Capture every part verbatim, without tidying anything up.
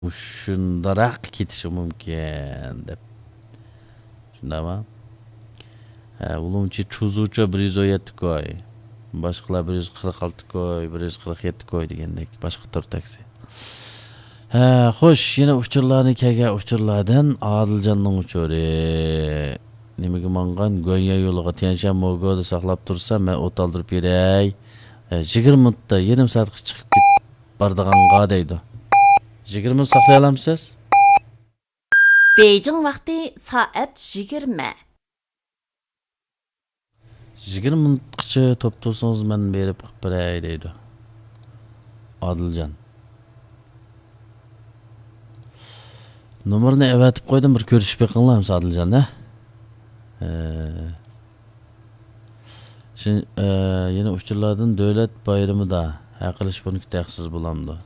مۇشۇنداقراق كېتىشى مۇمكىن دەپ. شۇنداقمۇ؟ ھە، ئۇلۇمچى چۇزۇچا بىر يۈز ئون يەتتە كوي. باشقىلار بىر يۈز قىرىق ئالتە كوي، بىر يۈز قىرىق يەتتە كوي دېگەندەك. باشقا تور تاكسى. ھە، خوش، يەنە ئۇچۇرلارنى كەلگەن ئۇچۇرلاردىن ئادىلجاننىڭ ئۇچۇرى. نېمىگە ماڭغان؟ گۆنيا يولىغا تيەنشان موگودا ساقلاپ تۇرسا، مەن ئوت ئالدۇرۇپ بېرەي. ھە، يىگىرمە مىنۇتتا، يېرىم سائەتكە چىقىپ كېتىپ بارىدىغانغا دەيدۇ. يىگىرمە مىنۇت ساقلىيالامسىز؟ بېيجىڭ ۋاقتى سائەت يىگىرمە. يىگىرمە مىنۇتقىچە توپ تۇرسىڭىز، مەن بېرىپ قىلىپ بېرەي دەيدۇ ئادىلجان. نومۇرنى ئەۋەتىپ قويدۇم، بىر كۆرۈشۈپ بېقىڭلار ئەمسە ئادىلجان، ھە؟ ھە. شىن-، ئە، يەنە ئۇچۇرلاردىن دۆلەت بايرىمىدا ھەق ئېلىش پونكىتى ھەقسىز بولامدۇ؟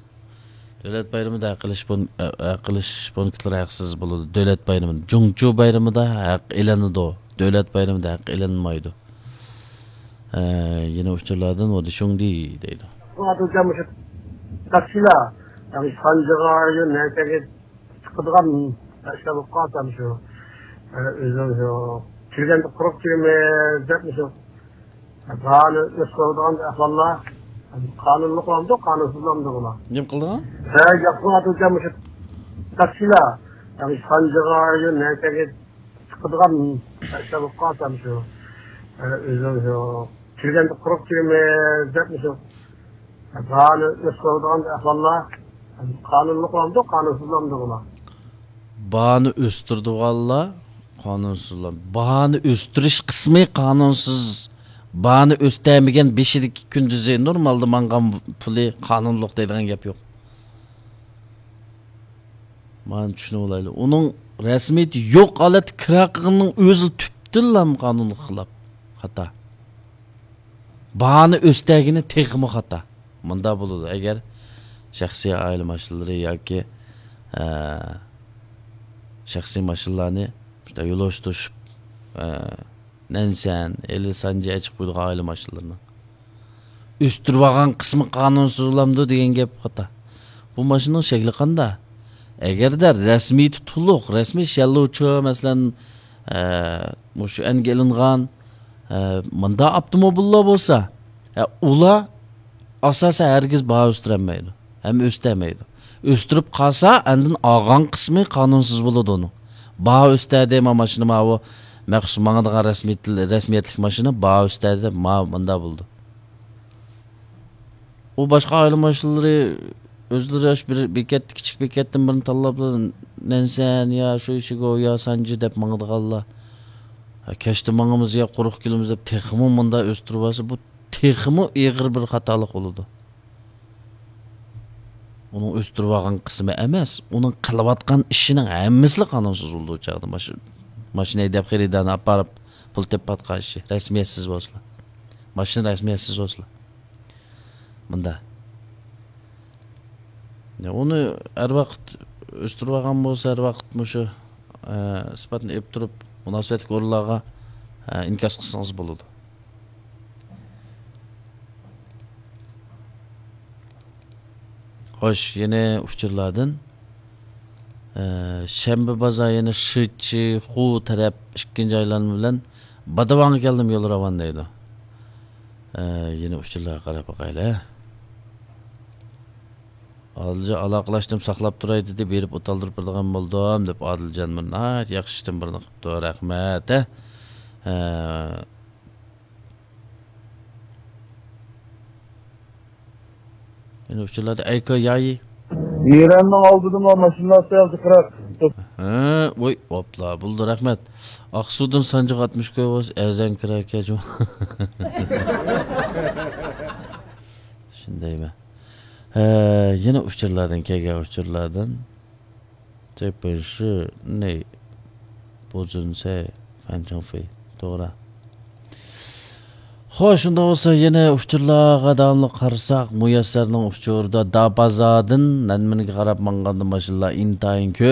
دۆلەت بايرىمىدا ھەق ئېلىش پون-، ئە، ھەق ئېلىش پونكىتلىرى ھەقسىز بولىدۇ. دۆلەت بايرىمىدا، جۇڭچۇ بايرىمىدا ھەق ئېلىنىدۇ. دۆلەت بايرىمىدا ھەق ئېلىنمايدۇ. ئە، يەنە ئۇچۇرلاردىن ۋودىشۇڭدى دەيدۇ. بۇ ئادەم مۇشۇ تاكسىلار، يەنى سانجىغا، يو، نەچەگە چىقىدىغان نەرسە بولۇپ قالسا، شۇ، ئە، ئۆزىنىڭ شۇ كىرگەندە قۇرۇق كىرىمىز دەپ، مۇشۇ باھانى ئۆستۈرىدىغان ئەھۋاللار قانۇنلۇق بولامدۇ، قانۇنسىز بولامدۇ بۇلار؟ نېمە قىلىدىغان؟ ھە، ياخشى ئادەم مۇشۇ تاكسىلار، يەنى سانجىغا، يو، نەچەگە چىقىدىغان نەرسە بولۇپ قالسا، شۇ، ئە، ئۆزىنىڭ شۇ كىرگەندە قۇرۇق كىرىمىز دەپ، مۇشۇ باھانى ئۆستۈرىدىغان ئەھۋاللار قانۇنلۇق بولامدۇ، قانۇنسىز بولامدۇ بۇلار؟ باھانى ئۆستۈرىدىغانلار قانۇنسىزلار. باھانى ئۆستۈرۈش قىسمى قانۇنسىز. باھانى ئۆستەرمىگەن، بېشىدىكى كۈندۈزى نورمالدا ماڭغان پۇلى قانۇنلۇق دەيدىغان گەپ يوق. مانا چۈشىنىۋالايلى. ئۇنىڭ رەسمىيىتى يوق ھالەتتە كىرا قىلغىنىنىڭ ئۆزى تۈپتىنلا قانۇنغا خىلاپ. خاتا. باھانى ئۆستەرگىنى تېخىمۇ خاتا. مۇنداق بولىدۇ، ئەگەر شەخسىي ئائىلە ماشىنىلىرى ياكى، ئە، شەخسىي ماشىنىلارنى شۇنداق يولۇشتۇرۇشۇپ، ئە، نەنسەن، ئەللىي سانجى ئەچىپ قويىدىغان ئائىلە ماشىنىلىرىنىڭ ئۆستۈرۈۋالغان قىسمى قانۇنسىز بولامدۇ دېگەن گەپ خاتا. بۇ ماشىنىنىڭ شەكلى قانداق؟ ئەگەردە رەسمىيىتى تولۇق، رەسمىي شيەنلۇچى، مەسىلەن، ئە، مۇشۇ ئەنگە ئېلىنغان، ئە، مۇنداق ئاپتوموبىللار بولسا، ئە، ئۇلار ئاساسەن ھەرگىز باھا ئۆستۈرەلمەيدۇ، ھەم ئۆستەلمەيدۇ. ئۆستۈرۈپ قالسا، ئاندىن ئالغان قىسمى قانۇنسىز بولىدۇ ئۇنىڭ. باھا ئۆستەردى، ما ماشىنا، ماۋۇ مەخسۇس ماڭىدىغان رەسمىيەت-، رەسمىيەتلىك ماشىنا، باھا ئۆستەردى، ما مۇنداق بولىدۇ. ئۇ باشقا ئائىلە ماشىنىلىرى ئۆزلىرى ئاشۇ بىر بېكەتتە، كىچىك بېكەتتىن بىرنى تاللاپ، نەنسەن يا شۇ ئىشىگو يا سانجى دەپ ماڭىدىغانلار. ھە، كەچتە ماڭىمىز يا قۇرۇق كېلىمىز دەپ تېخىمۇ مۇنداق ئۆستۈرۈۋالسا، بۇ تېخىمۇ ئېغىر بىر خاتالىق بولىدۇ. ئۇنىڭ ئۆستۈرۈۋالغان قىسمى ئەمەس، ئۇنىڭ قىلىۋاتقان ئىشىنىڭ ھەممىسىلا قانۇنسىز بولىدۇ ئۇ چاغدا. ماش-، ماشىنا ھەيدەپ خېرىدارنى ئاپىرىپ پۇل تېپىۋاتقان ئىشى، رەسمىيەتسىز بولسىلا. ماشىنا رەسمىيەتسىز بولسىلا. مۇنداق. يا، ئۇنى ھەر ۋاقىت ئۆستۈرۈۋالغان بولسا، ھەر ۋاقىت مۇشۇ، ئە، ئىسپاتنى ئېلىپ تۇرۇپ، مۇناسىۋەتلىك ئورۇنلارغا، ئە، ئىنكاس قىلسىڭىز بولىدۇ. خوش، يەنە ئۇچۇرلاردىن. ئە، شەنبە بازار يەنە شىچى، خۇ تەرەپ ئىككىنچى ئايلانما بىلەن بادىۋاڭغا كەلدىم، يول راۋان دەيدۇ. ئە، يەنە ئۇچۇرلارغا قاراپ باقايلى. ئادىلجان ئالاقىلاشتىم، ساقلاپ تۇراي دېدى، بېرىپ ئوت ئالدۇرۇپ بېرىدىغان بولدۇم دەپ ئادىلجان بىر ناھايىتى ياخشى ئىشتىن بىرنى قىپتۇ، رەھمەت، ھە. ئە، يەنە ئۇچۇرلاردا ئەيكا يايى. ئىراننىڭ ئالدىدىمۇ ماشىنىلار سەل جىقراق. ھە، ۋوي، ئوپلا، بولدى، رەھمەت. ئاقسۇدىن سانجىغا ئاتمىش كوي بولسا، ئەزەن كىراكەن جۇ. شۇندايمۇ؟ ھە، يەنە ئۇچۇرلاردىن، كەلگەن ئۇچۇرلاردىن. تېپىشى نى بۇزۇنسەي فەنچىڭفېي. توغرا. خوش، شۇنداق بولسا يەنە ئۇچۇرلارغا داۋاملىق قارىساق، مۇيەسسەرنىڭ ئۇچۇرىدا دابازادىن نەنمىنگە قاراپ ماڭغاندا ماشىنىلار ئىنتايىن كۆپ.